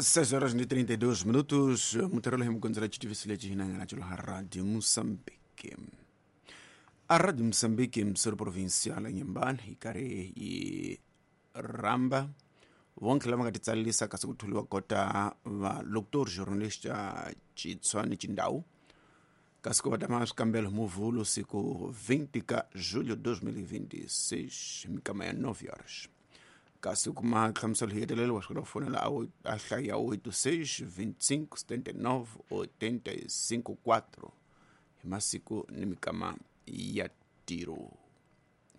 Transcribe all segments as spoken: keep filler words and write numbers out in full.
seis horas e trinta e dois minutos, Mutarela Gonzalez tivesse lhe na Rádio Moçambique. A Rádio Moçambique, emissora provincial em Inhambane, Icare e Ramba, vonke lava nga titsalisa kasi ku tholiwa kota va locutor jornalista Chitswani Chindau kasi ku va tama swikambelo Muvhulo siku vinte ka julho dois mil e vinte e seis mikama ya nove horas. Kasi kuma nhlamuselo hi hetelela wa swi kota ku fonela a hlaya oito seis vinte e cinco setenta e nove oitenta e cinco quatro hi masiku ni mikama ya tiro.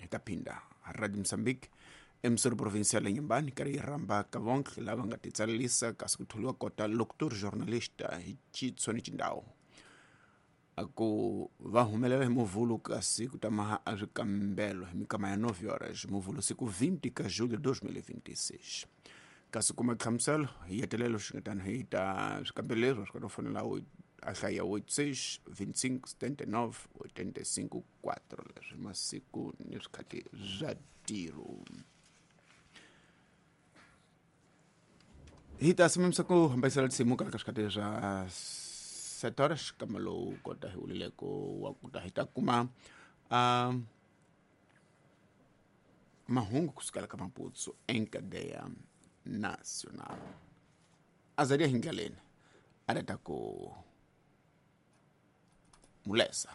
Hi ta phinda Radio Moçambique, emissora provincial em Inhambane, karhi yi rhamba ka vonke lava nga titsalisa kasi ku tholiwa kota locutor jornalista hi Chitswani Chindau a ku va humelela hi Muvhulo kasi ku tama a swikambelo hi mikama ya nove horas Muvhulo siku vinte ka julho dois mil e vinte e seis. Kasi kuma nhlamuselo hi hetelelo xi nga tani hi ta swikambelo leswi swi kota ku fonela a hlaya oito seis vinte e cinco setenta e nove oitenta e cinco quatro leswi masiku ni swikhati swa tiro. Hi ta simamisa ku hambanyisela tinsimu ka swikhati swa sete horas kama lowu kota hi wulileko wa ku ta hi ta kuma uh, mahungu kusukela ka Maputo em cadeia nacional. Azaria Hindlaleni a ta ku mulesa.